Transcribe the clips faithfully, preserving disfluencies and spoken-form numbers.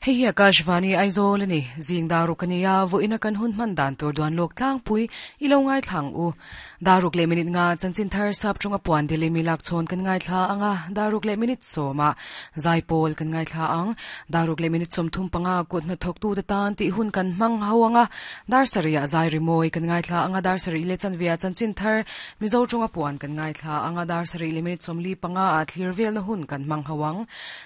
Hei hi Akashvani Aizawl ani zing daruk ania voina kan hun man dan tur duan lok tlang pui ilo ngai thlang u daruk le minute nga chanchin thar sap chunga puan dili milak chon kan ngai thla anga daruk le minute soma zaipol kan ngai thla ang daruk le minute som thum panga kut na thok tu te tan ti hun kan mang hawanga dar saria zai rimoi kan ngai thla anga dar sari le chanvia chanchin thar mizo chunga puan kan ngai thla anga dar sari le minute som li panga a thlir vel na hun kan mang hawang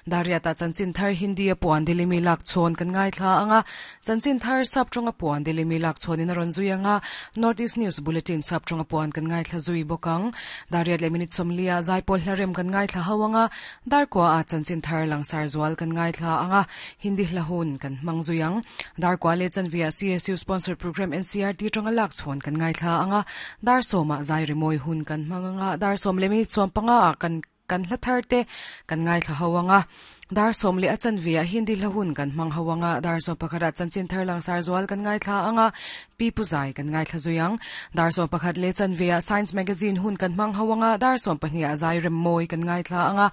daria ta chanchin thar hindi a puan dili milak chon kan ngai thla anga chanchin thar sap chunga puan dili milak chon in ron zui anga North East News Bulletin sap chunga puan kan ngai thla zui bokang dariat le minute somlia zaipol hlarem kan ngai thla hawanga dar kwa a chanchin thar langsar zual kan ngai thla anga hindi hlahun kan mangjuyang dar kwa le chanvia C S U sponsored program N C R T chunga lak chon kan ngai thla anga dar soma zai rimoi hun kan manganga dar som le minute som panga kan kan hlathar te kan ngai thla hawanga dar som le achan via hindi lahun kan mang hawanga dar som pakhara chanchin thar lang sar zual kan ngai thla anga pi puzai kan ngai thla zuyang dar som pakhat le chan via science magazine hun kan mang hawanga dar som pahnih azai rem moi kan ngai thla anga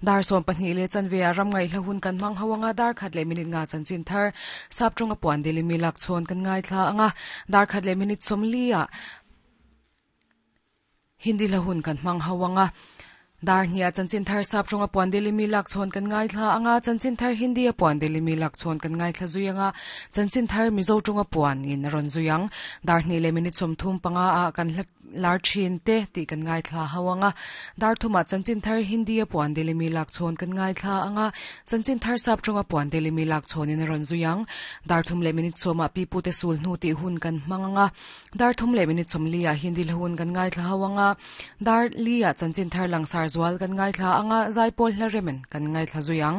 dar som pahnih le chan via ram ngai lahun kan mang hawanga dar khat le minute nga chanchin thar sap chunga puan dili milak chon kan ngai thla anga dar khat le minute som lia hindi lahun kan mang hawanga dar hnia chanchin thar sap chunga puan dili milak chon kan ngai thla anga chanchin thar hindi a puan dili milak chon kan ngai thla zuyanga chanchin thar mizo chunga puan in ron zuyang dar hni le minute som thum panga a kan lar chin te ti kan ngai thla hawanga dar thuma chanchin thar hindi a puan dili milak chon kan ngai thla anga chanchin thar sap chunga puan dili milak chon in ron zuyang dar thum le minute soma pi pu te sul hnu ti hun kan manganga dar thum le minute som lia hindi hun kan ngai thla hawanga dar lia chanchin thar langsar zual kan ngai thla anga zaipol hlaremen kan ngai thla zuyang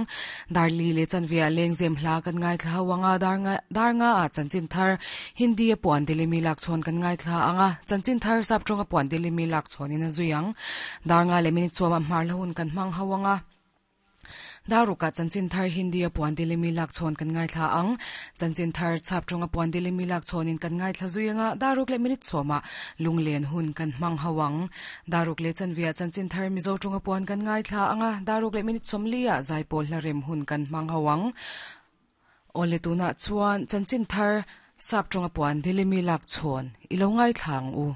dar li le chanvia lengzem hla kan ngai thla hawanga dar nga dar nga a chanchin thar hindi a puan dili milak chon kan ngai thla anga chanchin thar sap chunga puan dili milak chon in zuyang dar nga le minute choma mar lahun kan mang hawanga daruka chanchin thar hindi a puan dili milak chon kan ngai thla ang chanchin thar chap chunga puan dili milak chon in kan ngai thla zuyanga daruk le minute choma lunglen hun kan mang hawang daruk le chanvia chanchin thar mizo chunga puan kan ngai thla anga daruk le minute somlia zaipol hlarem hun kan mang hawang ole tuna chuan chanchin thar sap chunga puan dili milak chon ilo ngai thlang u.